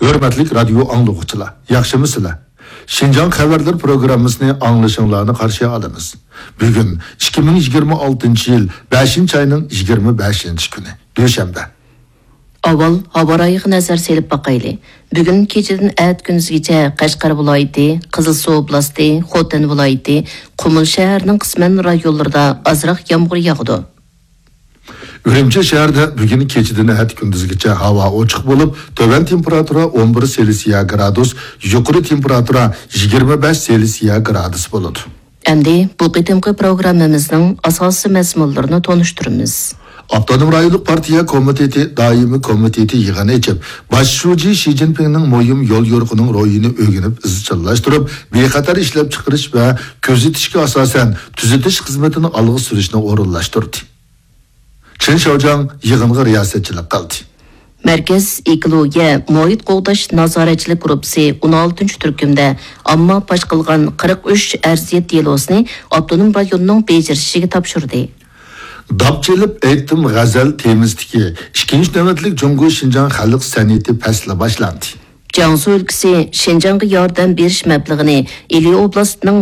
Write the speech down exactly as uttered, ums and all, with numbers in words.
ھۆرمەتلىك رادىيو ئاڭلىغۇچىلار، ياخشىمۇسىلەر؟ شىنجاڭ خەۋەرلىرى پروگراممىسىنى ئاڭلىشىڭلارنى قارشى ئالىمىز. بۈگۈن ئىككى مىڭ يىگىرمە ئالتىنچى يىل بەشىنچى ئاينىڭ يىگىرمە بەشىنچى كۈنى، دۈشەنبە. ئاۋۋال ھاۋا رايىغا نەزەر سېلىپ باقايلى. بۈگۈن كېچىدىن ئەتە كۈندۈزگىچە قەشقەر ۋىلايىتى، قىزىلسۇ ئوبلاستى، خوتەن ۋىلايىتى، قۇمۇل شەھەرنىڭ قىسمەن رايونلىرىدا ئازراق يامغۇر ياغىدۇ. ئۈرۈمچى شەھىرىدە بۈگۈن كېچىدىن ئەتە كۈندۈزگىچە ھاۋا ئوچۇق بولۇپ، تۆۋەن تېمپېراتۇرا ئون بىر سېلسىيە گرادۇس، يۇقىرى تېمپېراتۇرا يىگىرمە بەش سېلسىيە گرادۇس بولىدۇ. ئەمدى بۇ قېتىمقى پروگراممىمىزنىڭ ئاساسىي مەزمۇنلىرىنى تونۇشتۇرىمىز. ئاپتونوم رايونلۇق پارتىيە كومىتېتى دائىمىي كومىتېتى يىغىن ئېچىپ، باش شۇجى شى جىنپىڭنىڭ مۇھىم يول يورۇقىنىڭ روھىنى ئۆگىنىپ ئىزچىللاشتۇرۇپ، بىخەتەر ئىشلەپچىقىرىش ۋە كۆزىتىشكە ئاساسەن تۈزىتىش خىزمىتىنى ئالغا سۈرۈشنى ئورۇنلاشتۇردى. چېن شياۋجياڭ يىغىنغا رىياسەتچىلىك قىلدى. مەركەز ئېكولوگىيە، مۇھىت قوغداش نازارەتچىلىك گۇرۇپپىسى ئون ئالتىنچى تۈركۈمدە ئامما پاش قىلغان قىرىق ئۈچ ئەرزىيەت دېلوسىنى ئاپتونوم رايوننىڭ بېجىرىشىگە تاپشۇردى. داپ چېلىپ ئېيتتىم غەزەل تېمىسىدىكى ئىككىنچى نۆۋەتلىك جۇڭگو شىنجاڭ خەلق سەنئىتى پەسلى باشلاندى. جياڭسۇ ئۆلكىسى شىنجاڭغا ياردەم بېرىش مەبلىغىنى ئىلى ئوبلاستىنىڭ